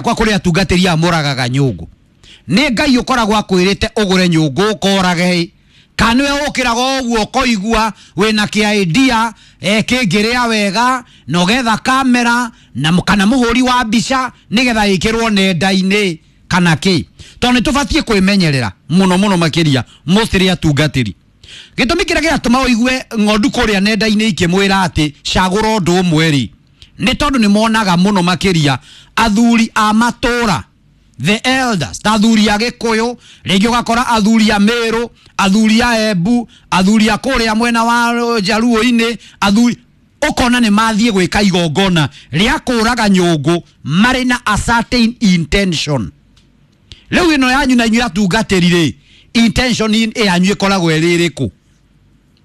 Kwa kũrĩ atungatĩri aya mũragaga nyũngũ, nĩ Ngai ũkoragwo akwĩrĩte ũgũre nyũngũ ũkorage, kana nĩwe ũkĩraga ũguo ũkoigua wĩna kĩa idea kĩngĩrĩa wega na ũgetha kamera na kana mũhũri wa mbica nĩgetha ĩkĩrwo nenda-inĩ kana kĩ? Tondũ nĩ tũbatiĩ kwĩmenyerera mũno mũno makĩria mostly atungatĩri. Gĩtũmi kĩrĩa kĩratũma ũigue ng'ondu kũrĩa nenda-inĩ ikĩmwĩra atĩ cagũra ũndũ ũmwe rĩ, nĩ tondũ nĩ monaga mũno makĩria athuri a matũra, the elders, ta athuri a Gĩkũyũ, rĩngĩ ũgakora athuri a Meru, athuri a Embu, athuri a kũrĩa mwena wa Njaruo-inĩ, athuri ũkona nĩ mathiĩ gwĩka igongona rĩa kũraga nyũngũ marĩ na a certain intention. Rĩu ĩno yanyu na inyuĩ atungatĩri rĩ, intention yanyu ĩkoragwo ĩrĩ ĩrĩkũ?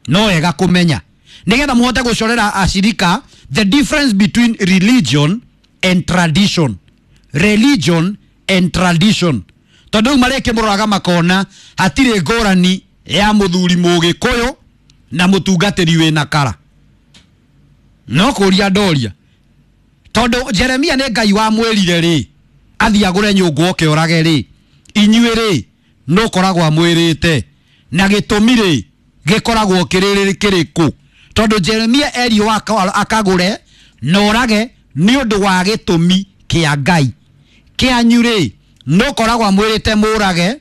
No wega kũmenya nĩgetha mũhote gũcorera acirika the difference between religion and tradition, religion and tradition, tondũ rĩu marĩkĩmũroraga makona hatirĩ ngũrani ya mũthuri mũgĩkũyũ na mũtungatĩri wĩna kara. No kũria ndoria, tondũ Jeremia nĩ Ngai wamwĩrire rĩ athiĩ agũre nyũngũ oke orage rĩ, inyuĩ rĩ no koragwo amwĩrĩte na gĩtũmi rĩ gĩkoragwo kĩrĩ kĩrĩkũ? Tondũ Jeremia erirwo akagũre na orage nĩ ũndũ wa gĩtũmi kĩa Ngai, kĩanyu rĩ no koragwo amwĩrĩte mũrage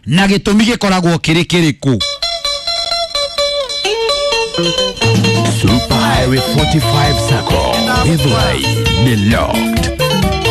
na gĩtũmi gĩkoragwo kĩrĩ kĩrĩkũ? Super Highway 45 Sacco. Githurai ni locked.